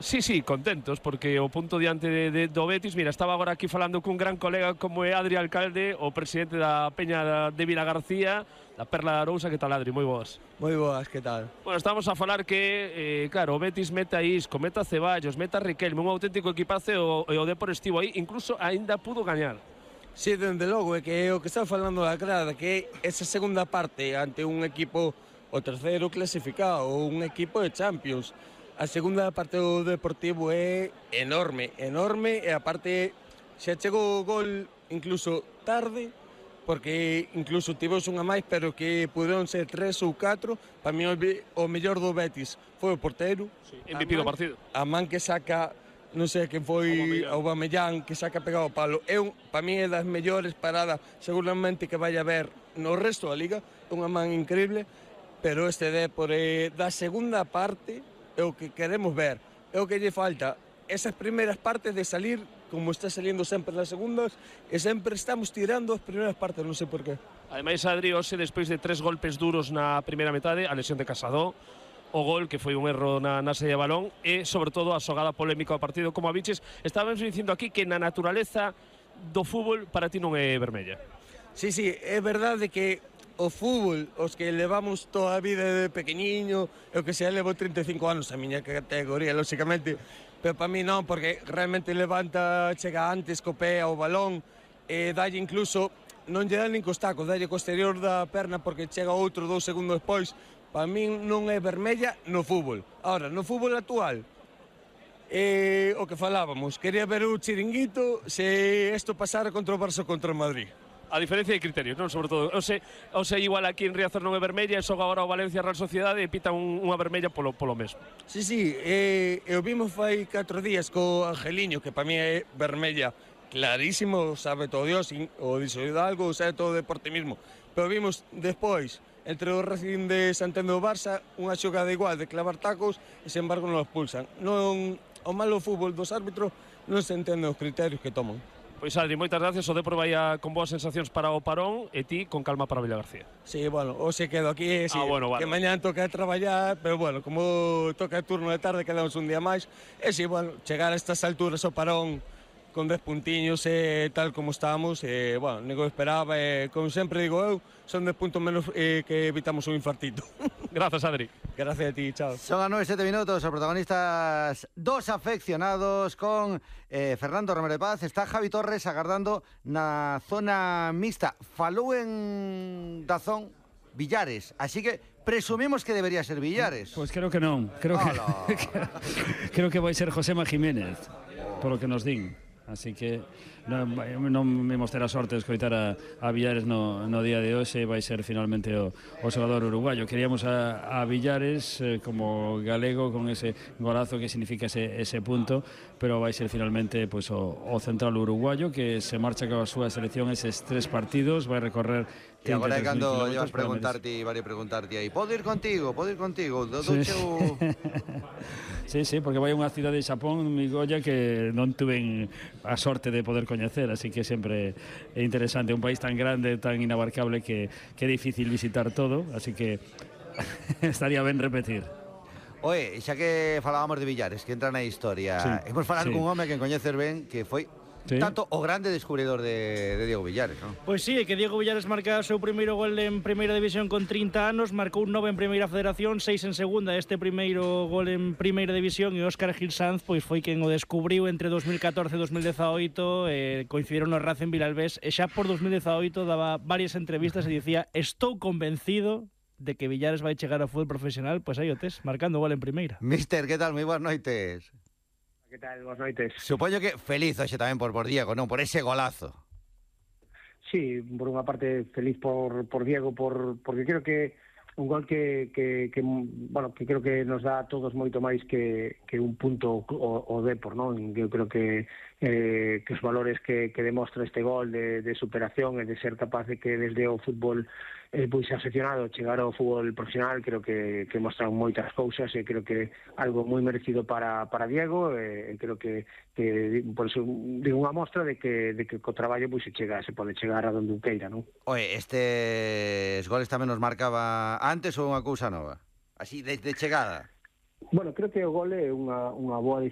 Sí, sí, contentos, porque o punto diante do Betis, mira, estaba agora aquí falando cun gran colega como é Adri Alcalde, o presidente da Peña de Vila García, da Perla de Arousa. Que tal, Adri? Moi boas. Moi boas, que tal? Bueno, estamos a falar que, claro, o Betis mete a Isco, mete a Ceballos, mete a Riquelme, un auténtico equipazo, e o Depor estivo aí, incluso aínda pudo gañar. Sí, dende logo, é que o que está falando da grada, que esa segunda parte ante un equipo, o terceiro clasificado, ou un equipo de Champions, a segunda parte do Deportivo é enorme, enorme, e aparte xa chegou o gol incluso tarde, porque incluso tivemos unha máis, pero que puderon ser 3 ou 4. Para mí o mellor do Betis foi o portero, Sí, MVP do partido. a man que saca, non sei quen foi, Aubameyang, que saca pegado ao palo. Para mí é das mellores paradas seguramente que vai haber no resto da liga, unha man increíble, pero este Depor da segunda parte é o que queremos ver, é o que lle falta. Esas primeiras partes de salir, como está saliendo sempre nas segundas, e sempre estamos tirando as primeiras partes, non sei por qué. Ademais, Adri, hoxe, despois de 3 golpes duros na primeira metade, a lesión de Casado, o gol, que foi un erro na saída de balón, e, sobre todo, a xogada polémica do partido, como a biches. Estábamos dicindo aquí que na naturaleza do fútbol para ti non é vermella. Sí, sí, é verdade que o fútbol, os que levamos toda a vida de pequeniño, eu que sei, levo 35 anos, a miña categoría, lóxicamente, pero para mí non, porque realmente levanta, chega antes co pé ao balón, e dalle incluso, non lle dá nin cos tacos, dalle co exterior da perna porque chega outro 2 segundos despois. Para mí non é vermella no fútbol. Ahora, no fútbol actual, o que falábamos, quería ver o chiringuito se isto pasara contra o Barça contra o Madrid. A diferencia de criterios, non? Sobre todo, o sea, igual aquí en Riazor non é vermella, e xoga agora o Valencia Real Sociedade e pita unha vermella polo mesmo. Sí, sí, o vimos fai 4 días co Angeliño, que para mí é vermella clarísimo, sabe todo Dios, o dixo algo, sabe todo o deporte mismo. Pero vimos despois, entre o Racing de Santander e o Barça, unha xogada igual de clavar tacos, e sen embargo non os pulsan. Non, o malo fútbol dos árbitros non se entenden os criterios que toman. Pois, Adri, moitas gracias. O Depor vai con boas sensacións para o parón, e ti con calma para Villagarcía. Sí, bueno, hoxe quedo aquí, sí, bueno, vale. Que mañán toca traballar, pero bueno, como toca el turno de tarde, quedamos un día máis, e sí, bueno, chegar a estas alturas ao parón con 10 puntiños, tal como estamos, bueno, nego esperaba, como sempre digo eu, son 10 puntos menos que evitamos un infartito. Gracias, Adri. Gracias a ti, chao. Son as 9:07 minutos, os protagonistas dos afeccionados con Fernando Romero de Paz. Está Javi Torres agardando na zona mixta. Falou en Dazón Villares, así que presumimos que debería ser Villares. Pois creo que non, creo que vai ser Josema Jiménez, polo que nos din. Así que non imos ter a sorte de escoitar a Villares no día de hoxe. Vai ser finalmente o xogador uruguayo. Queríamos a Villares como galego, con ese golazo que significa ese punto, pero vai ser finalmente pues, o central uruguayo, que se marcha coa súa selección eses 3 partidos, vai recorrer. E agora é cando llevas preguntarte aí, podo ir contigo, Sí, sí, porque vai a unha cidade de Xapón, Migoya, que non tuven a sorte de poder coñecer, así que sempre é interesante, un país tan grande, tan inabarcable, que é difícil visitar todo, así que estaría ben repetir. Oe, xa que falábamos de Villares, que entra na historia, sí, hemos falado cun home que coñeces ben, que foi tanto o grande descubridor de Diego Villares, non? Pois sí, que Diego Villares marca o seu primeiro gol en Primeira División con 30 anos, marcou 9 en Primeira Federación, 6 en Segunda, este primeiro gol en Primeira División, e Óscar Gil Sanz pois foi quen o descubriu entre 2014 e 2018, coincidiron no Racing Vilalbés, e xa por 2018 daba varias entrevistas e dicía: estou convencido de que Villares vai chegar ao fútbol profesional. Pois aí o tes, marcando gol en Primeira. Mister, que tal? Moi boas noites. Que tal? Boas noites. Supoño que feliz hoxe tamén por Diego, non? Por ese golazo. Sí, por unha parte feliz por Diego, porque creo que un gol que creo que nos dá a todos moito máis que un punto o Depor, non? Eu creo que os valores que demostra este gol de superación e de ser capaz de que desde o fútbol pois afeccionado chegar ao fútbol profesional, creo que mostran moitas cousas, e creo que algo moi merecido para Diego, e creo que por eso digo unha mostra de que co traballo pois se pode chegar a donde queira, non? Oye, estes goles tamén nos marcaba antes ou unha cousa nova? Así, de chegada? Bueno, creo que o gol é unha boa